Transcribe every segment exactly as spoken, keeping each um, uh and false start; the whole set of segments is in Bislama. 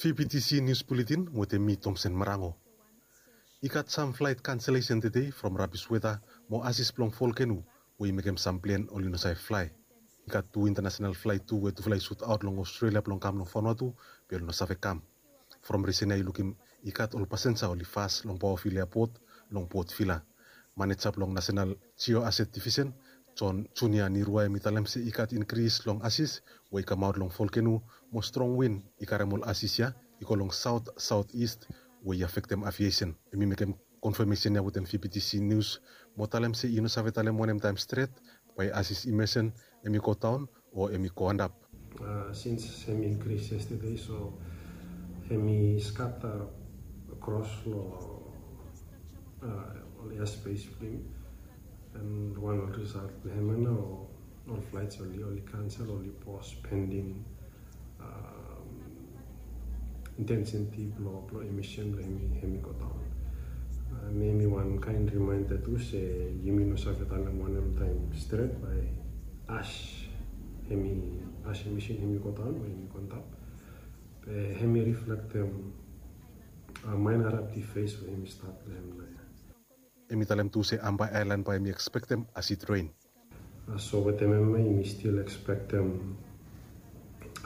P P T C News Bulletin wetem mi Tomsen Marango. I gat sam flaet kanselesen tede from rabis weta mo asis blong volkeno we i mekem sam plen oli no save flae. I gat tu intanasenal flaet tu we tufala i sutaot long Australia blong kam long Vanuatu, be oli no save kam. From risen ya i lukim i gat ol pasenja oli fas long Paofilia Port long Port Vila. Maneja blong Nasenal Jioaset Divisen, John Junia Nirua, hem i talem se i gat inkris long asis we i kamaot long volkeno mo strong win i karem ol asis ya i go long saot saot ist we i afektem aviesen. Hem i mekem konfamesen ya wetem V P T C News mo talem se i no save talem wanem taem stret bae asis i mesen hem i godaon o hem i go antap. Uh, since hem i inkris yestede, so hem i skata kros long uh, ol airspace blong hem. And wan ol risalt blong hem ana ol flights oli oli kansel, oli pos pending um, intensity blong blong emission blong hem i hem i go daon. Uh, mi mi wan kaen reminder tu se yumi no save talem wanem taem stret bae ash hem i ash emission hem i go daon o hem i go antap. Be hem i reflektem uh, minor eruptive phase we hem i stat blong hem naoia. Hem i talem tu se Ambae aelan bae hem i ekspektem asid ren. Uh, so wetem hem ya yumi stil ekspektem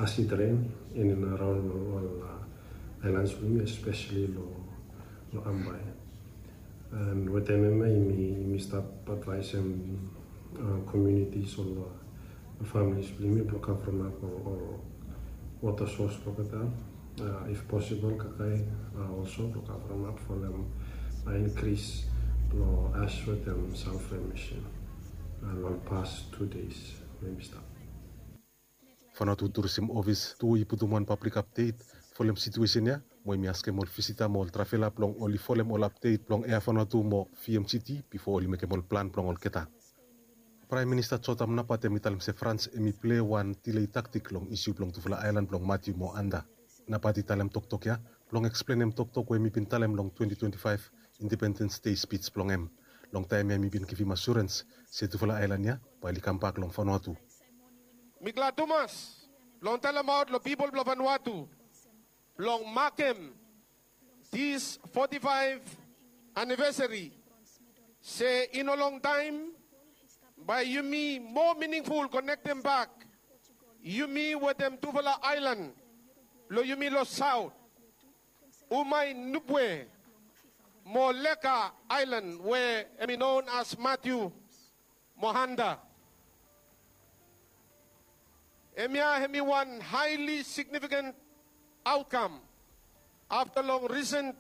asid ren in and around ol uh, aelan blong yumi, especially long long Ambae. And wetem hem ya yumi yumi stap advaesem uh, communities, ol uh, families blong yumi blong kavremap ol ol water source blong olgeta. Uh, if possible, kakae uh, also blong kavremap folem uh, increase long ash wetem sulfur emission uh, long past two days we yumi stap. Vanuatu Tourism Office tu i putum wan public update folem situesen ya mo hem i askem ol visita mo ol travela blong oli folem ol update blong Air Vanuatu mo V M G T bifo oli mekem ol plan blong olgeta. Praem Minista Jotam Napat hem i talem se Frans hem i plei wan delay tactic long isiu blong tufala aelan blong Matthew mo Anda. Napat i talem toktok ya blong eksplenem toktok we hem i bin talem long twenty twenty-five Independence Day speech blong hem. Long taem ya hem i bin givim asurens se tufala aelan ya bae oli kambak long Vanuatu. Mi glad tumas blong talemaot long pipol blong Vanuatu blong makem this forty-five anivesari se i no longtaem bae yumi moa miningful konektem bak yumi wetem tufala aelan blong yumi long saot, Umae Nubwe mo Leka aelan we hem i non as Matthew mo Anda. Hemia hem i wan haeli signifikan aotkam afta long risen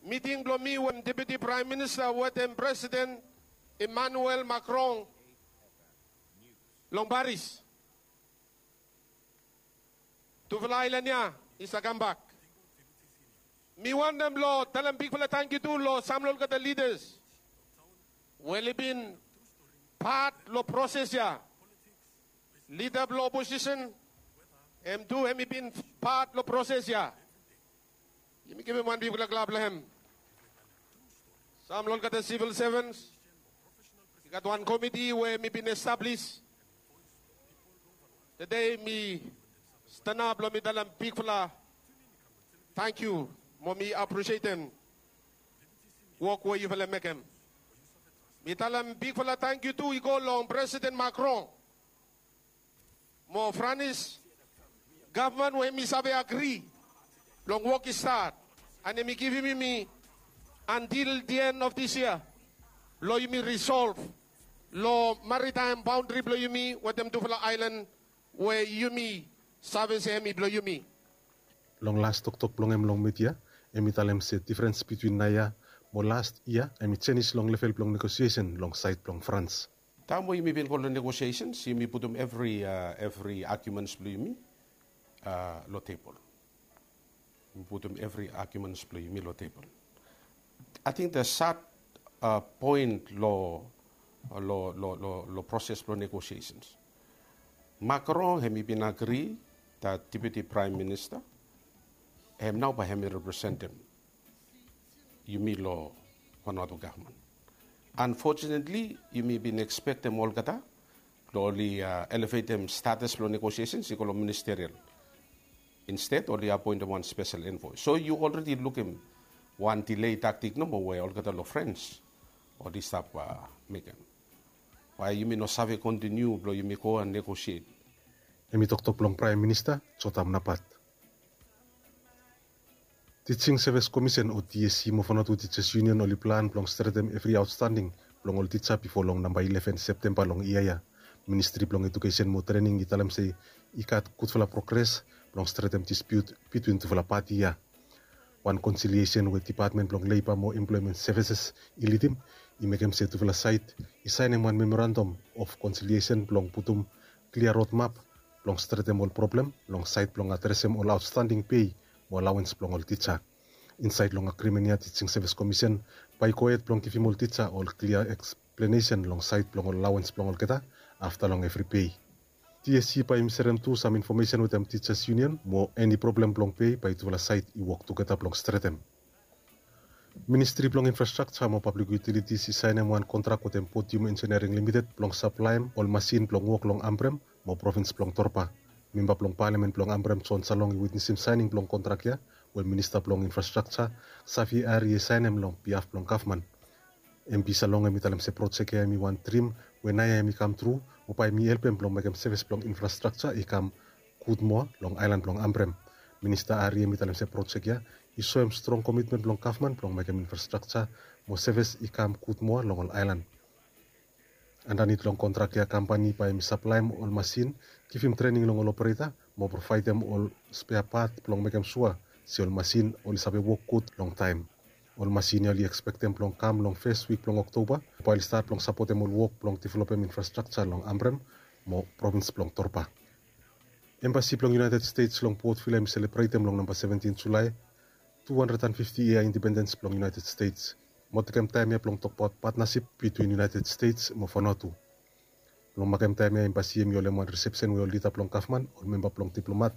miting blong mi wetem Deputi Praem Minista wetem Presiden Emmanuel Macron long Paris. Tufala aelan ya i save kambak. Mi wantem blong talem bigfala tangkiu tu long sam long olgeta lidas we oli bin pat long proses ya. Lida blong oposisen hem tu hem i bin pat long proses ya. Yumi givim wan bigfala klap long hem. Sam long olgeta sivil sevens i gat wan komiti we hem i bin establis. Tede mi stanap blong mi talem bigfala tangkiu mo mi apresietem wok we yufala mekem. Mi talem bigfala tangkiu tu i go long Presiden Macron mo Franis gavman we hem i save agri blong wok i stat, and hem i givim yumi antil the end of this year blong yumi risolv long maritaem baondri blong yumi wetem tufala aelan we yumi save se hem i blong yumi. Long las toktok blong hem long midia, hem i talem se difrens bitwin naoia mo las yia hem i jenis long level blong negosiesen long saed blong Frans. Taem we yumi bin go long negosiesens yumi putum evri evri agiumens blong yumi long tebol. Yumi putum evri agiumens blong yumi long tebol. Ating the sad poen long long long long proses blong negosiesens, Macron hem i bin agri that Deputi Praem Minista hem nao bae hem i representem yumi long Vanuatu gavman. Unfortunately yumi bin ekspektem olgeta blong oli elevetem status blong negosiesens i go long ministerial. Insted oli apoentem wan spesel envoi. So yu olredi lukim wan delay taktik nomo we olgeta long Frens oli stap mekem. Bae yumi no save kontiniu blong yumi go and negosiet. Hemi toktok blong Praem Minista Jotam Napat. Teaching Service Commission o TSC mo Vanuatu Teachers Union oli plan blong stretem evri aotstanding blong ol tija bifo long namba ileven Septemba long yia ya. Ministri blong Ejukesen mo Trening i talem se i gat gudfala progres blong stretem dispiut bitwin tufala pati ya. Wan konsiliesen we Depatmen blong Leiba mo Emploemen Sevises i lidim i mekem se tufala saed i saenem wan memorandam of konsiliesen blong putum klia rodmap blong stretem ol problem long saed blong adresem ol aotstanding pei mo alawens blong ol tija. Insaed long agrimen ya Teaching Service Commission bae i gohed blong givim ol tija ol klia eksplenesen long saed blong ol alawens blong olgeta afta long evri pei. TSC bae i serem tu sam infomesen wetem Teachers Union mo eni problem blong pei bae tufala saed i wok tugeta blong stretem. Ministri blong Infrastrakja mo Pablik Yutilitis i saenem wan kontrak wetem Podium Engineering Limited blong saplaem ol masin blong wok long Ambrem mo provins blong Torba. Memba blong Palamen blong Ambrem John Salong i witnesim saening blong kontrak ya we Minista blong Infrastrakja Xavier Arrie i saenem long biaf blong gavman. MP Salong hemi talem se projek ya hemi wan drim we naoia hemi kamtru mo bae hemi helpem blong mekem sevis blong infrastrakja i kam gud moa long aelan blong Ambrem. Minista Arrie hemi talem se projek ya i soem strong komitmen blong gavman blong mekem infrastrakja mo sevis i kam gud moa long ol aelan. Andanit long kontrak ya kampani bae hemi saplaem ol masin, givim trening long ol opereta mo provaedem ol spea pat blong mekem sua se ol masin oli save wok gud long taem. Ol masin ya oli ekspektem blong kam long fes wik blong Oktoba bae oli stat blong sapotem ol wok blong developem infrastrakja long Ambrem mo provins blong Torba. Embasi blong United States long Port Vila hemi selebretem long namba seventin Julae tu handred and fifti yia independens blong United States mo tekem taem ya blong tokbaot patnasip bitwin United States mo Vanuatu. Long makem taem ya embasi hemi holem wan risepsen we ol lida blong gavman, ol memba blong diplomat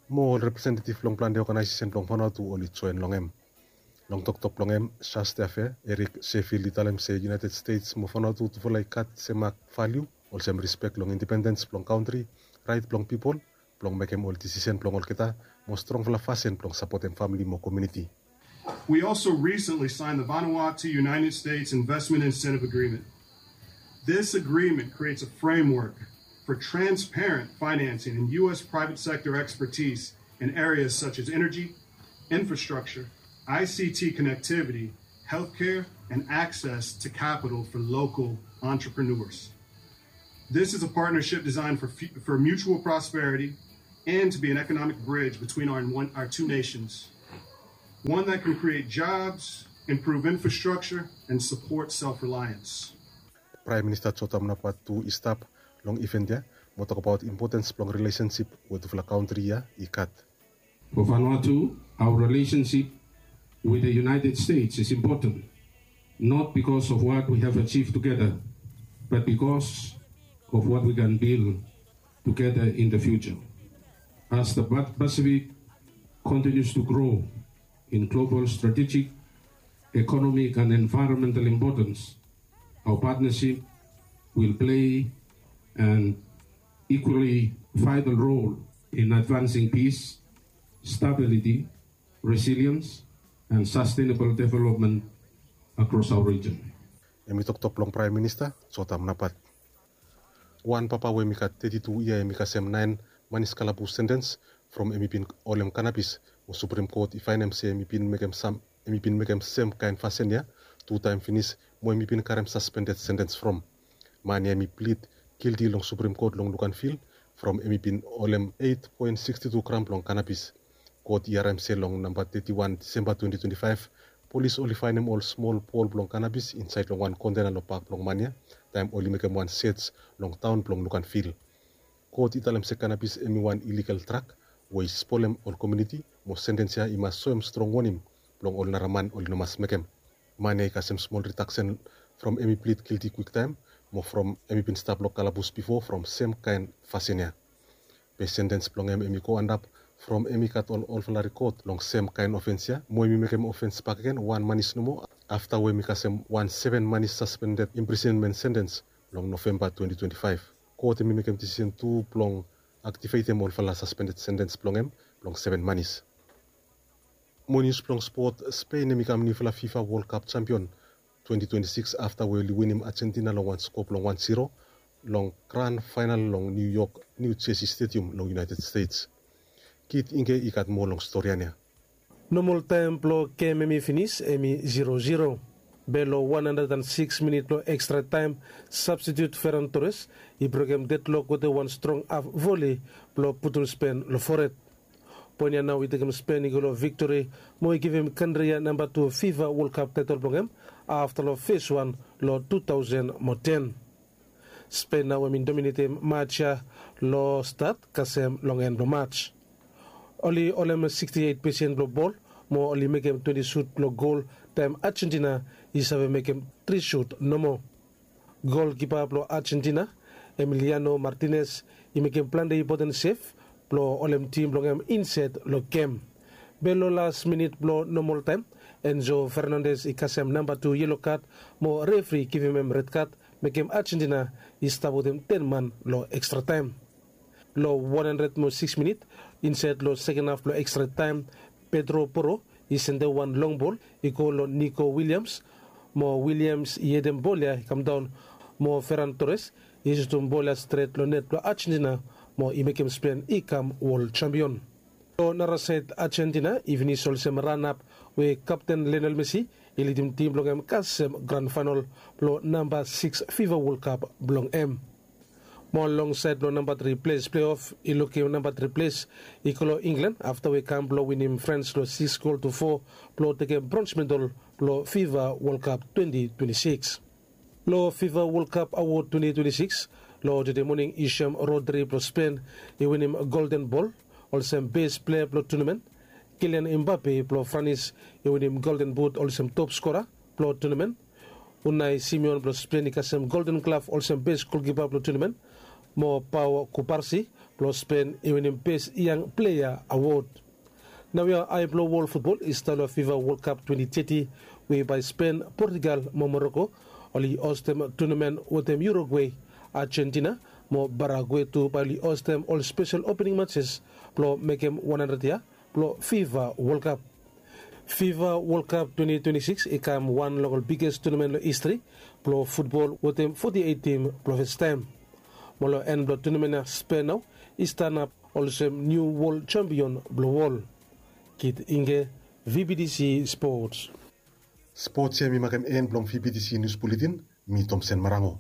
mo ol representetiv blong plante oganaesesen blong Vanuatu oli joen long hem. Long toktok blong hem, Charge d'Affaires Eric Sheffield i talem se United States mo Vanuatu tufala i gat semak valiu olsem rispek long independens blong kantri, raet blong pipol blong mekem ol disisen blong olgeta mo strongfala fasin blong sapotem famili mo komuniti. We also recently signed the Vanuatu United States Investment Incentive Agreement. This agreement creates a framework for transparent financing and U S private sector expertise in areas such as energy, infrastructure, I C T connectivity, healthcare, and access to capital for local entrepreneurs. This is a partnership designed for, fu- for mutual prosperity and to be an economic bridge between our, one, our two nations, one that can create jobs, improve infrastructure, and support self reliance. Praem Minista Jotam Napat tu i stap long iven ya mo tokbaot impotens blong rilesensip we tufala kantri ya i gat. For Vanuatu, our relationship with the United States is important, not because of what we have achieved together, but because of what we can build together in the future. As the Pa- Pacific continues to grow in global strategic, economic, and environmental importance, our partnership will play an equally vital role in advancing peace, stability, resilience, and sustainable development across our region. Hemi toktok blong Praem Minista Jotam Napat. Wan papa we hemi gat teti tu yia hemi kasem naen manis kalabus sentens from hemi bin holem kanabis mo Suprem Kot i faenem se hemi bin mekem sam hemi bin mekem sem kaen fasin ya tu taem finis mo hemi bin karem saspended sentens from. Man ya hemi plid gilti long Suprem Kot long Luganville from hemi bin holem eit poen siksti tu gram blong kanabis. Kot i harem se long namba teti wan Disemba twenti twenti faef, polis oli faenem ol smol bol blong kanabis insaed long wan kontena long bak blong man ya taem oli mekem wan sej long taon blong Luganville. Kot i talem se kanabis hemi wan iligal drag we i spolem ol komuniti mo sentens ya i mas soem strong wonim blong ol nara man oli no mas mekem. Man ya i kasem smol ridaksen from hemi plid gilti kwiktaem mo from hemi bin stap long kalabus bifo from sem kaen fasin ya. Be sentens blong hem hemi go antap from hemi gat ol olfala rikod long sem kaen ofens ya mo hemi mekem ofens bakegen wan manis nomo afta we hemi kasem wan seven manis saspended imprisenmen sentens long Novemba twenti twenti faef. Kot hemi mekem disisen tu blong aktivetem olfala saspended sentens blong hem blong seven manis. Mo nius blong spot, Spain hem i kam niufala fifa World Cup champion twenty twenty-six afta we oli winim Argentina long wan skop long wan zero long gran fainal long New York, New Jersey Stadium long United States. Kit Inge i gat moa long stori ya. Nomol taem blong gem hem i finis hem i zero zero. Be long wan handred and six minit blong ekstra taem, sabstitiut Ferran Torres i brokem dedlok wetem wan strong haf voli blong putum Spen long fored. Poen ya nao i tekem Spen i go long viktori mo i givim kantri ya namba tu fifa World Cup taetol blong hem afta long fes wan long tu taosen mo ten. Spen nao hem i dominetem maj ya long stat kasem long en blong maj. Oli holem siksti eit pesen blong bol mo oli mekem twenti sut blong gol taem Argentina i save mekem tri sut nomo. Golkipa blong Argentina, Emiliano Martinez, i mekem plante impoten sev blong holem tim blong hem insaed long gem. Be long las minit blong nomol taem, Enzo Fernandes i kasem namba tu yelo kad mo refri i givim hem red kad, mekem Argentina i stap wetem ten man long ekstra taem. Long wan handred mo sikis minit, insaed long seken haf blong ekstra taem, Pedro Porro i sendem wan long bol i go long Nico Williams, mo Williams i hedem bol ya i kamdaon, mo Ferran Torres i sutum bol ya stret long net blong Argentina mo i mekem Spen i kam wol jampion. Long narasaed Argentina i finis olsem ranap we kapten Lionel Messi i lidim tim blong hem kasem gran faenol blong namba sikis fifa World Cup blong hem. Mo long saed blong namba tri ples pleof i lukim namba tri ples i go long Inglan afta we kam blong winim Frans long sikis gol tu fo blong tekem brons medal blong fifa World Cup twenti twenti sikis. Long fifa World Cup awod twenti twenti sikis, long tede moning i sem Rodri blong Spen i winim Golden Bol olsem bes plea blong tunamen, Kilian Mbape blong Franis i winim Golden But olsem top skora blong tunamen, Unai Simeon blong Spen i kasem Golden Glaf olsem bes golkipa blong tunamen, mo Pau Kubarsi blong Spen i winim bes yang plea awod. Naoia ae blong wol futbol i stap long fifa World Cup twenti teti we bae Spen, Portugal mo Moroko oli hostem tunamen wetem Urugwe, Argentina mo Paragwe tu bae oli hostem ol spesel opening matses blong mekem wan handred yia blong fifa World Cup. Fifa World Cup twenti twenti sikis i kam wan long ol biges tunamen long histri blong futbol wetem foti eit tim blong fastaem. Mo long en blong tunamen ya Spen nao i stanap olsem niu wol jampion blong wol. Kit Inge, V B T C Sports. Sports ya mi makem en blong V B T C nius buletin. Mi Tomsen Marango.